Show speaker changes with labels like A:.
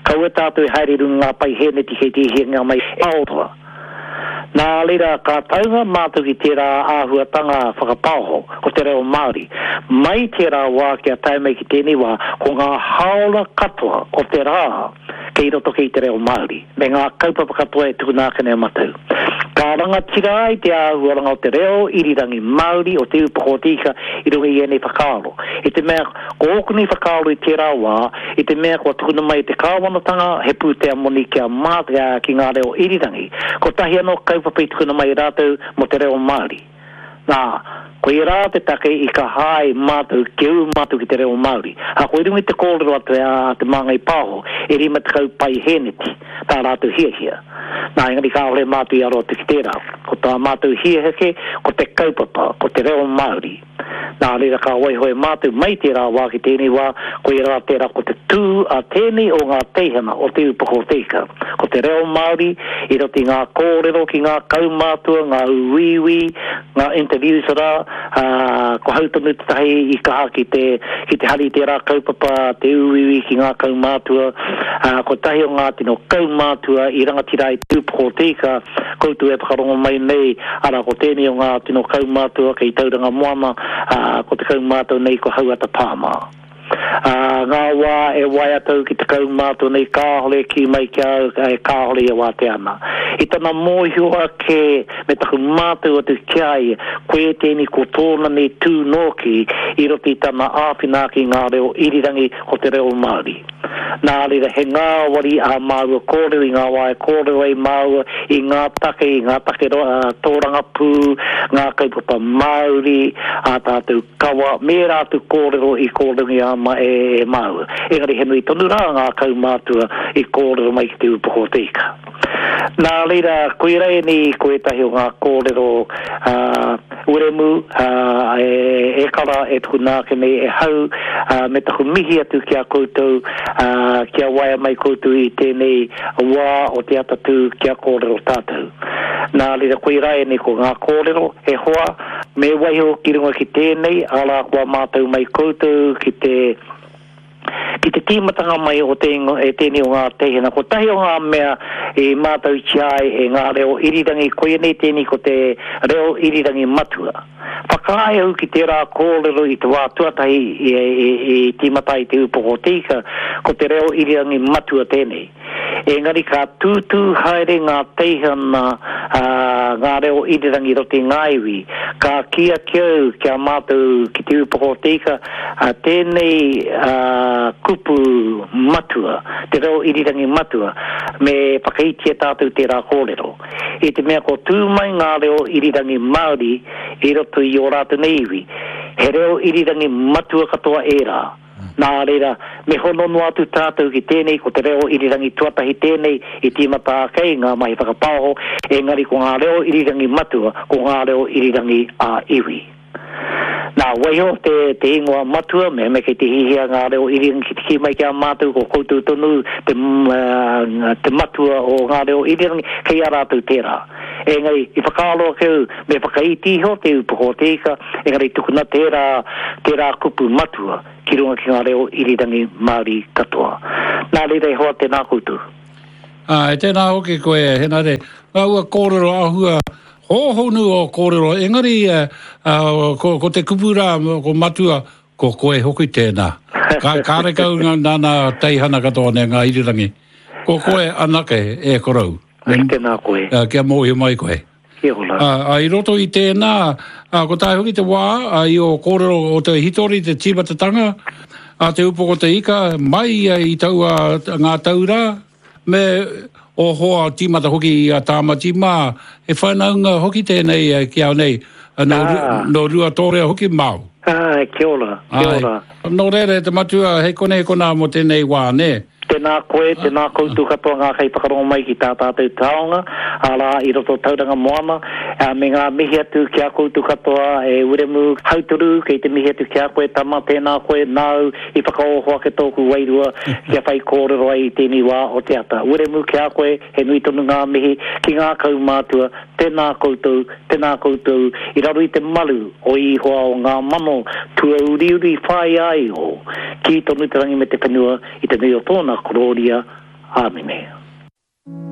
A: Kaua tātou e haere i runga i ngā paihēneti kei te hiahia mai e Aotearoa. Nā reira, ka taunga mātou ki tērā āhuatanga whakapaoho, ko te reo Māori. Mai tērā wā kia tae mai ki tēnei wā, ko ngā hāora katoa o te rā kei roto kei te reo Māori, me ngā kaupapa katoa e tukuna ake nei e matou. Ka rangatira ai te āhuaranga o te reo irirangi Māori o Te Ūpoko o Te Ika i runga i ēnei whakaaro. I te mea, ko ōku nei whakaaro i tērā wā, i te mea kua tukuna mai e te kāwanatanga he pūtea moni kia mā, ki ngā reo irirangi, kotahi anō kaupapa i tukuna mai e rātou mō te reo Māori. Nā, koirā te take i kaha ai mātou kia ū mātou ki te reo Māori. Ahakoa i runga i te kōrero atu a Te Māngai Pāho, e 50 paihēneti tā rātou hiahia. Nā, engari kāore mātou i aro atu ki tērā. Ko tā mātou hiahia kē, ko te kaupapa, ko te reo Māori. Nā reira ka waiho e mātou mai tērā wā ki tēnei wā, koirā tērā ko te tū a tēnei o ngā teihana o Te Upoko o Te Ika. Ko te reo Māori i roto i ngā kōrero ki ngā kaumātua, ngā uiui, ngā interviews rā, ā, ko hau tonu tētahi i kaha ki te, ki te hari i tērā kaupapa, te uiui ki ngā kaumātua, ā, kotahi o ngā tino kaumātua i rangatira ai Te Upoko o Te Ika, Koutou e whakarongo mai nei, arā, ko tēnei o ngā tino kaumātua kei Tauranga Moana, ā, ko te kaumātua nei ko Hauata Pāma. Ā, ngā wā e waea atu ki te kaumātua nei kāore e kī mai ki a au, e kāore ia wātea ana. I tana mōhio ake me taku mātau atu ki a ia, koia tēnei ko tōna nei tū nōki i roto i tana āwhina ake i ngā reo irirangi ko te reo Māori. Nā reira, he ngāwari ā māua kōrero i ngā wā e kōrero ai māua i ngā take, i ngā take tōrangapū, ngā kaupapa Māori, ā tātou kawa, me ērā atu kōrero i kōrerongia e māua. Engari he nui tonu rā ngā kaumātua i kōrero mai ki Te Ūpoko o Te Ika. Nā reira, koirā ēnei ko ētahi o ngā kōrero a Wiremu, e kara, e tukuna ake nei e hau, me taku mihi atu ki a koutou, kia waea mai koutou i tēnei wā o te atatū kia kōrero tātou. Nā reira, koirā ēnei ko ngā kōrero, e hoa, me waiho ki runga ki tēnei, arā kua mātau mai koutou ki te. Ki te tīmatanga mai o te ingoa, e tēnei o ngā teihana, kotahi o ngā mea i mātautia ai e ngā reo irirangi, koianei tēnei ko te reo irirangi matua. Whakaae au ki tērā kōrero i te wā tuatahi i tīmata ai Te Ūpoko o Te Ika, ko te reo irirangi matua tēnei. Engari ka tūtū haere ngā teihana, ā, ngā reo irirangi i roto i ngā iwi. Ka kī ake au ki a mātou ki Te Ūpoko o Te Ika, ā, tēnei, ā, kupu matua, te reo irirangi matua, me whakaitia tātou tērā kōrero. I te mea ko tū mai ngā reo irirangi Māori i roto i ō rātou nei iwi, he reo irirangi matua katoa ērā. Nā reira, me hono noa atu tātou ki tēnei, ko te reo irirangi tuatahi tēnei i tīmata ake ai ngā mahi whakapaoho, engari ko ngā reo irirangi matua, ko ngā reo irirangi ā-iwi. Nā, waiho te, te ingoa matua, mehemea kei te hihia ngā reo irirangi ki te kī mai ki a mātou, ko koutou tonu te, te matua o ngā reo irirangi, kei a rātou tērā. Engari, i whakaaro ake au, me whakaiti iho te upoko o te ika, engari tukuna tērā, tērā kupu matua ki runga ki ngā reo irirangi Māori katoa. Nā reira e hoa, tēnā koutou.
B: Āe, tēnā hoki koe, Henare. Ngā ua kōrero āhua hōhonu ō kōrero, engari ko, ko te kupu rā, ko matua, ko koe hoki tēnā. Ka, kārekau ngā nāna teihana katoa nei, ngā irirangi. Ko koe anake e korou.
A: Me, tēnā koe.
B: Kia mōhio mai koe.
A: Kia ora.
B: Ā, ā, i roto i tēnā, ā, ko tae hoki te wā, ā, i ō kōrero o te hitori, te tīmatatanga, a Te Upoko o Te Ika, mai ia i taua ngā tau rā, me ō hoa tīmata hoki i a Tāmati mā, he whanaunga hoki tēnei ki au nei, nō, nō Ruatōrea hoki māu.
A: Āe, kia ora, kia ora.
B: Nō reira e te matua, hei konei konā mō tēnei wā, nē?
A: Tēnā koe, tēnā koutou katoa ngā kaiwhakarongo mai ki tā tātou taonga, arā, i roto o Tauranga Moana, ā, me ngā mihi atu ki a koutou katoa e Wiremu Hautoru, kei te mihi atu ki a koe tama, tēnā koe, nāu i whakaoho ake tōku wairua kia whai kōrero ai i tēnei wā o te ata. Wiremu, ki a koe, he nui tonu ngā mihi ki ngā kaumātua, tēnā koutou, tēnā koutou, i raro i te maru o Ihoa o ngā mano tuauriuri whāia ai iho, kī tonu te rangi me te whenua i te nui o tōna. korōria. Āmine.